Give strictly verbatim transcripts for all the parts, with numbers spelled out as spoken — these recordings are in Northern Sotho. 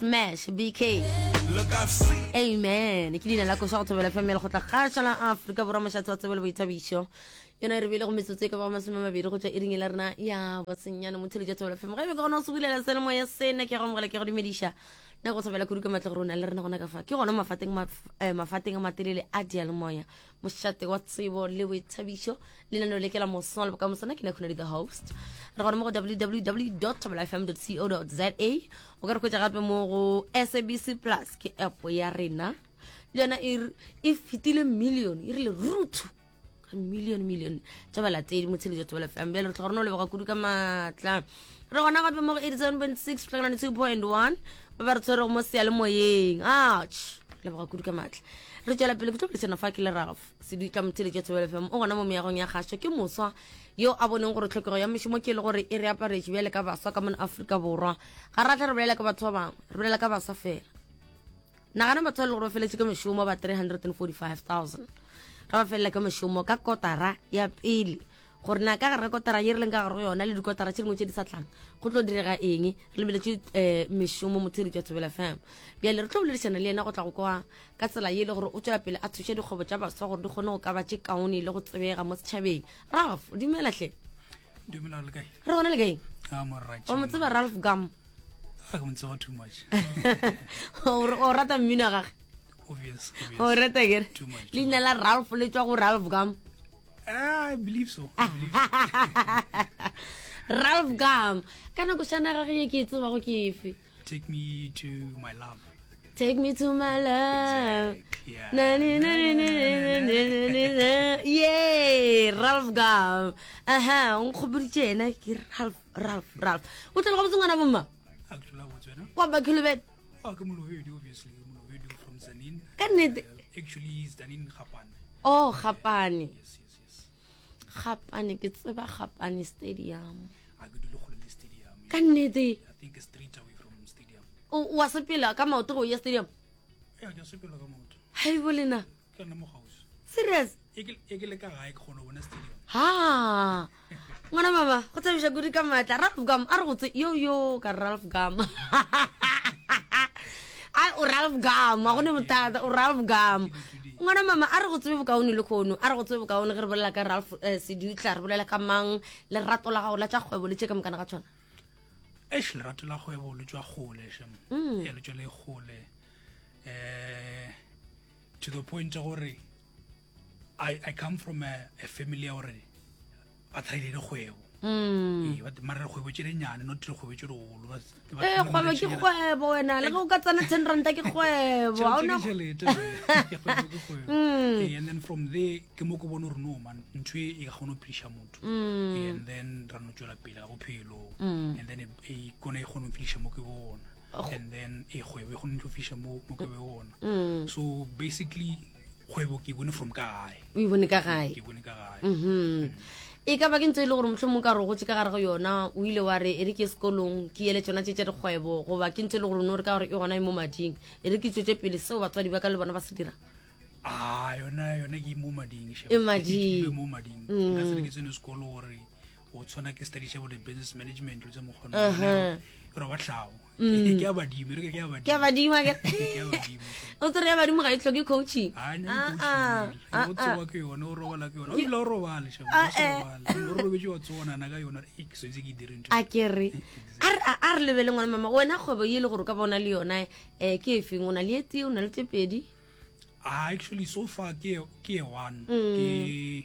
Smash B K. Amen. Ke leina la koša go Thobela F M ya Lekgotla Kgašo la Afrika Borwa, mošate wa tsebo le boithabišo. Yona e re bile go metsotso e ka bago masome a mabedi go tšwa iring la rena ya bosenyane. Motheletša Thobela F M, ge e be ke gona go se bulela selemoya sena, ke go amogela, ke go dumediša nna go thobela kudu ka matla gore o na le rena gona ka fa. Ke gona mafateng maf- eh, mafateng a matelele a dialemoya, mošate wa tsebo le boithabišo, lenaneo le ke la Moswa le Bokamoso. Ke nna Khunadi, the host. Re gona mo go W W W fm co za. O ka re hwetša gape mo go S A B C Plus, ke app ya rena le yona e re- e fetile million, e rile ruthu ka million million tša balatedi motsheletso Thobela F M. Bjale re tla gore no leboga kudu ka maatla. Re gona gape mo go eighty-seven point six tlhakanane two point one, ba ba re tshwerego mo seyalemoyeng. Ach, leboga kudu ka maatla. Re tswela pele ke tlo boledišana fa ke le Ralph Sedutla, motheletša Thobela F M. O gona mo meagong ya kgašo. Ke moswa yo a boneng gore tlhokego ya mešomo ke e le gore e re aparetše bjale ka baswa ka mona Afrika Borwa. Ga ra tla re bolela ka batho ba bangwe, re bolela ka baswa fela. Nagana batho ba e le gore ba feletse ka mešomo ba three hundred and forty-five thousand, ga ba felela ka mešomo ka kotara ya pele, gore na ka gare ga kotara ye re leng ka gare go yona le dikotara tše dingwe tše di sa tlang go tlo direga eng, re lebeletše um mešomo. Motheletši wa Thobela F M, bjale re tlo boledišana le yena go tla go kwa ka tsela ye e le gore o tswela pele a thuša dikgwebo tša baswa gore di kgone go ka ba tše kaone le go tsebega mo setšhabeng. Ralph, dumela hle. Dumela, le kae? Re gona, le kaeng? Ah, morra. O mo tseba Ralph Gum? A ke mo tseba too much. o o rata mmino wa gage? Obvious, obvious. O rata kere? Too much. Leina la Ralph le tswa go Ralph Gum. Ah, I believe so. I believe so. Ralph Gum, ka nako šana gage ye ke e tsebago ke efe? Take Me to My Love. Take me to my love. Yeah. Na, ni, na, ni, ni, ni, ni, ni, ni, ni. Ye Ralph Gum, aha, o nkgopoditše yena ke Ralph, Ralph, Ralph. O tlele gabotse, ngwana bomma? A ke tlola botse wena. Kwa Bakholobet? Oh, ke Molobedu, obviously. Ke Molobedu from Tzaneen. Ka nnete? Uh, actually, Tzaneen Gapane. Oh, Gapane. Yes, yes, yes. Gapane, ke tseba Gapane Stadium. A ke dule kgole le stadium. Ka nnete? I think a street away from stadium. O wa sepela ka maoto go ya stadium? Yeah, ke a sepela ka maoto. Hai bo lena. Ke nna mo gausi. Serious? E ke e ke le ka gae ke kgona go bona stadium. Ha, ngwana mama, go thabiša kudu ka maatla. Ralph Gum, a re go tse yo yo ka Ralph Gum. Ai, o Ralph Gum, a gone bothata, o Ralph Gum. Ngwana mama, a re go tsebe bokaone le kgono, a re go tsebe bokaone. Ge re bolela ka Ralph eh, Sedutla, re bolela ka mang? Lerato la gago la tša kgwebo le tše ka mokana ga tshwana? Eish, lerato la kgwebo le tswa kgole shem. Mm. Yeah, le tswa le kgole. Eh to the point ya gore I I come from a, a family ya gore ba thaile dikgwebo. Mm. Ee, but mara dikgwebo tše dinnyane, not dikgwebo tše digolo. Ba- ba- ee ba- kgwebo ke kgwebo wena, le ge o ka tsena ten ranta ke kgwebo. Ga Tšhelete ona. ke tšhelete, man. Kgwebo ke kgwebo. Mm. Ee, and then from there ke mo ke bone gore no man, ntho e e ka kgona go phediša motho. Mm. Ee, and then ra no tswela pele ka bophelo, Mm. and then e e kone e kgone go fiša mo ke bona, and then e kgwebo e kgone go fiša mo mo ke be gona. Mm. So basically kgwebo ke e bone from ka gae. O e bone ka gae? Ke e bone ka gae. Mhm e ka ba ke ntse e le gore mohlomong ka re o gotse ka gare go yona, o ile wa re e re ke sekolong ke ele tsona tše tša dikgwebo, goba ke ntse e le gore o no re ka gore e gona e mo mading, e re ke tswetse pele seo batswadi ba ka le bona ba se dira? Ah, yona yona ke mo mading shem. E mading. Ke mo mading. Nka se re ke tsene sekolo gore o tshwana ke study bo the business management le tse mokgona. Uh-huh. Re ba tlhago, ke a badimo, re ke a badimo. Ke a badimo akere? Ke a badimo shem. O tsere ya badimo ga e tlhoke coaching. Ah, ne Ah, ah, ah, o tsoa ke yone, o robala ke yone, o ile o robale shem, Ah, o se eh. robale, o robetse wa tsonana ka yona, e ke swetse ke dire ntho. A ke re a re- a re lebele, ngwana mama, wena kgwebo ye e le gore o ka bona le yona um ke e feng? O na le e tee, o na le tse pedi? Ah, actually so far ke ke e one. Mm. Ke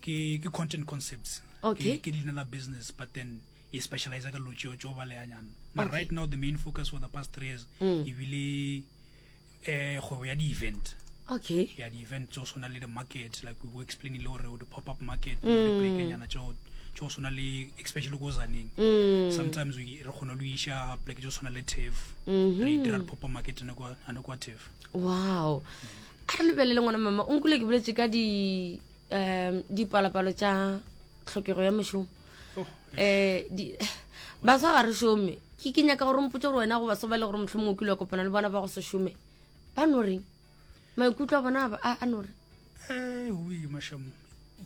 ke ke Content Concepts. Okay. Ke ke leina la business, but then e specialize ka dilo tšeo tšeo baleyanyana, but right now the main focus for the past three years Mm. ebile eh kgwebo ya di-event. Okay Ya di-event tso tshwana le the market, like we were explaining le gore the pop up market, diplekenyana tšeo tšeo tshwana le, especially ko Tzaneen. Mm. Sometimes we re kgona le iša pleke tšeo tshwana le T A F, Mhm. re dira di-pop up market ane kwa ane kwa T A F. Wow, a re lebelele, ngwana mama, o nkule ke boletse ka di um dipalopalo tša tlhokego ya mešomo. Oh, um baswa ga re šome. ke ke nyaka gore mpotse gore wena go baswa ba e le gore mohlomongwe o kile wa kopana le bona ba go se šome, ba no reng? Maikutlo a bona a ba- a a no reng? Eh, oi masham,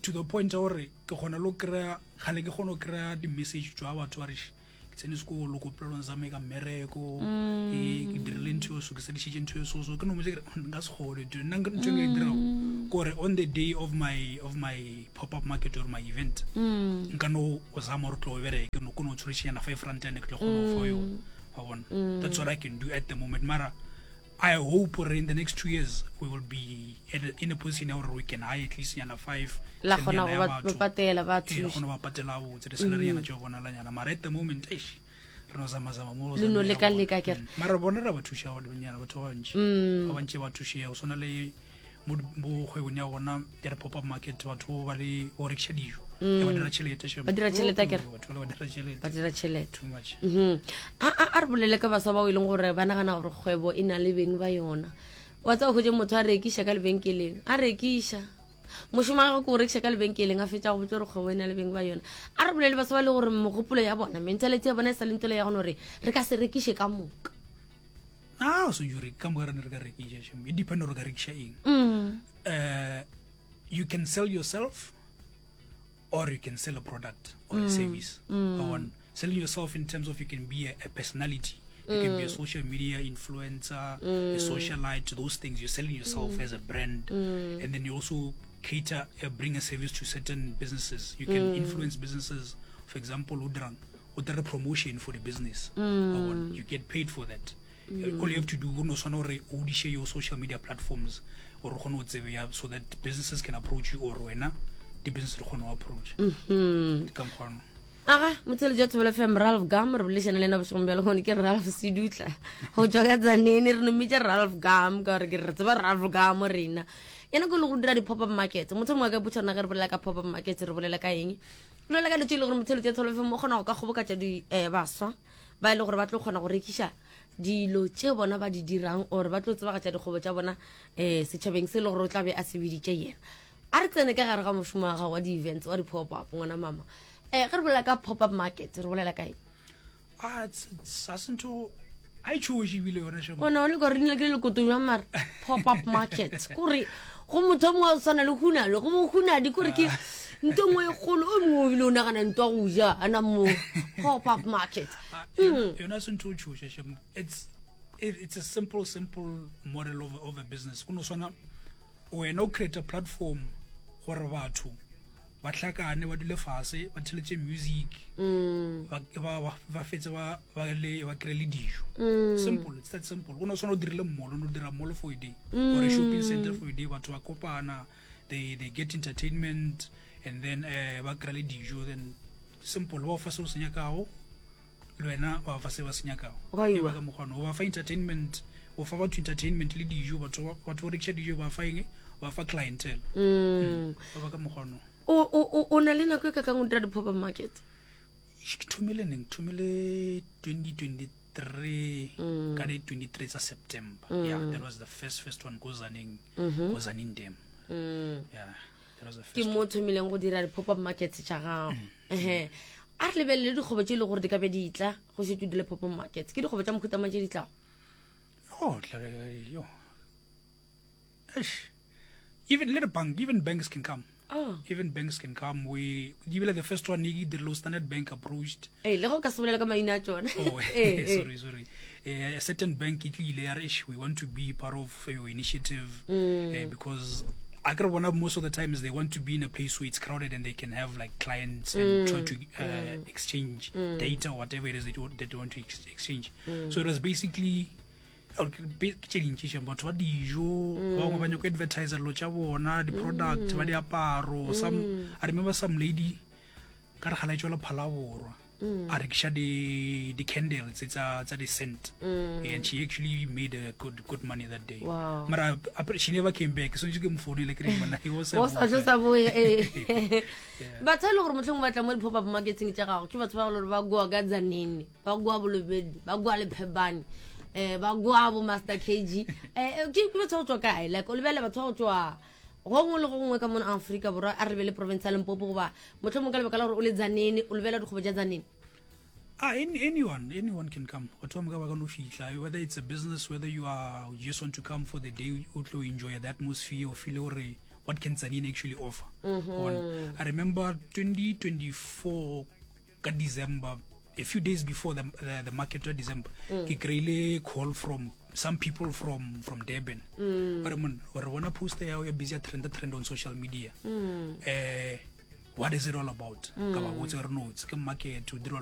to the point ya gore ke kgona le go kry-a, gale ke kgona go kry-a di-message tswa batho ba re, "Sh, ke Ke tsene sekolo ko polelong sa me ka mmereko, e ke dirile ntho eo so, ke sedišitše ntho eo so so ke no motse ke re, nka se kgone dude. Nna nka- ntho e nka e dirago kore on the day of my of my pop up market or my event, nka no o zama gore tlo o bereke no ko no tshwerešenyana five rand ane ke tlo kgona go fa yona, wa bona. That's what I can do at the moment, mara I hope gore in the next two years we will be at a, in a position ya gore we can hire at least nyana five La ten kgona nyana go ya ba batho. ba patela ba Ee, thuša. kgona go ba patela botse di-salary nyana tšeo bonalanyana, mara at the moment eish, re no zama-zama mo go Le no zamela leka-leka gona. akere. Mm. Mara bona re ba thuša nyana batho ba bantši, ba bantši ba thušega go swana le mo di- mo kgwebong ya gona ya di-pop up market, batho ba le go rekiša dijo. E ba dira tšhelete shame. Ba dira tšhelete akere? Oh, batho bale ba dira tšhelete. Ba dira tšhelete. Too much. Mhm. a a- a re bolele ka baswa bao e leng gore ba nagana gore kgwebo e na le beng ba yona. Wa tseba, hwetše motho a rekiša ka lebenkeleng, a rekiša, mošomo wa gagwe ke go rekiša ka lebenkeleng, a fetša go botsa gore kgwebo e na le beng ba yona. A re bolele baswa ba le gore mogopolo ya bona, mentality ya bona e sa le ntole ya gone gore re ka se rekiše ka moka. Ah, so jure ka moka re ne re ka rekiša shame. E depend gore o ka rekiša eng. Mm. uh, you can sell yourself or you can sell a product or a service. Wa bona? Selling yourself in terms of you can be a, a personality, you can be a social media influencer, a socialite, those things. You're selling yourself as a brand. And then you also cater, uh, bring a service to certain businesses. You can influence businesses. For example, o dirang, o dira promotion for the business. Wa bona? You get paid for that. Uh, All you have to do, o no tshwana gore o diše your social media platforms or o kgone go tsebeya so that businesses can approach you or wena di-business di kgone go approach. Ke ka mokgwa ono. Aga motsheletso wa Thobela F M, Ralph Gum re bolešana le ena bošegong bja lekgone. Ke Ralph Sedutla go tswa ka Tsanene, re nometše Ralph Gum ka gore ke re tseba Ralph Gum rena. Yena ke le go dira di-pop up market. Motho mongwe a ka botša rena, ge re bolela ka pop up market re bolela ka eng? Re bolela ka dilo tse e le gore motsheletso ya Thobela F M o kgona go ka kgobokatša di um baswa ba e le gore ba tlo kgona go rekiša dilo tše bona ba di dirang or ba tlo tsebagatša dikgwebo tša bona um setšhabeng se e le gore o tla be a se biditše yena. A re tsene ka gare ga mošomo wa gago wa di-events, wa di-pop up, ngwana mama. um ge re bolela ka pop up market re bolela ka eng? Ah, it's- it's- ga se ntho a e tšhoše ebile yone shame. Ona o le kore dina ke le lekoto jwa mare pop up market kore go motho o mongwe wa go tshwana le hunalo, go mo hunadi kore ke nto nngwe e kgolo, o mongwe o bile o nagana nto ya go ja ana mo pop up market. Ah, yona yona se ntho o tšhoša shame. It's it, it's a simple simple model of, of a business. Go no swana wena o create a platform gore batho ba hlakane, ba dule fase, ba theletše music, ba ba- ba- ba fetse ba ba le ba kry le dijo. Simple, it's that simple. Go no swana o dirile mall, o no dira mall for a day or a shopping center for a day, batho ba kopana, they they get entertainment and then uh, ba kry le dijo. Then simple, ba o fa se o se nyakago, le wena wa fa se ba se nyakago. Gwa E iwa. ba ka mokgwa o ba fa entertainment, o fa batho entertainment le dijo, batho ba batho ba rekiša dijo, ba fa eng, ba fa clientele. Mm. Ba ba ka mokgwa ono. o o- o- o na le nako e ka kang o dira di-pop up market? Ke thomile neng? Thomile twenty twenty-three ka di twenty-three tsa September. Yeah, that was the first first one ko Tzaneen, ko Tzaneen Dam. Yeah, that was the Ke first. mo o thomileng go dira di-pop up markets tša gago. Ehe, a re lebelele dikgwebo tše e le gore di ka be di tla go šetse o dile pop up markets. Ke dikgwebo tša mohuta tše di tlago? Oh, tla- yo. Eish. Even little bank, even banks can come. Ah. Even banks can come. We ebile the first one e dirile Standard Bank approached. Ee, le go ka se bolele ka maina a tsone. Oh, Eh, eh. sorry, sorry. Uh, a certain bank e tlile ya re, "Eish, we want to be part of your initiative," uh, because I can bona most of the times they want to be in a place where it's crowded and they can have like clients and try to uh, exchange data or whatever it is that, you, that they want to ex- exchange. So it was basically oh, ke be- ke tše dintši shame. Batho ba dijo, ba bangwe ba nyaka go advertise dilo tša bona, di-product, ba diaparo. Some, I remember some lady ka re gala e tswela Phalaborwa, a rekiša di di-candles tsa tsa di-scent, and she actually made a good good money that day. Wow. Mara apre- she never came back, so ke mo founele ke re monna he was o sa tlo sa boe ee. Batho e le gore motlhong ba tla mo di-pop up marketing tša gago ke batho ba le gore ba goa ka Tzaneen, ba goa Bolobedu, ba goa Lephebane, um ba goa bo Master K G, um ke ke batho ba go tswa kae? Like o lebelele batho ba go tswa go ngwe le go ngwe ka mona Aforika Borwa. A re lebele province ya Limpopo, goba motlhomong ka lebaka la gore o le Tzaneen o lebelela dikgwebo tša Tzaneen? Ah, any, anyone, anyone can come. Batho ba moka ba ka no fihla, whether it's a business, whether you are you just want to come for the day, o tlo enjoy the atmosphere, or feel gore what can Tzaneen actually offer. Bona. I remember twenty twenty-four ka December, a few days before the, the, the market ya December, ke kry-ile call from some people from from Durban. Ba re, "Mon, re bona poster ya ya busy ya trend trend on social media. Eh, what is it all about?" Ka ba botsa re, "No, it's ke market o dirwa."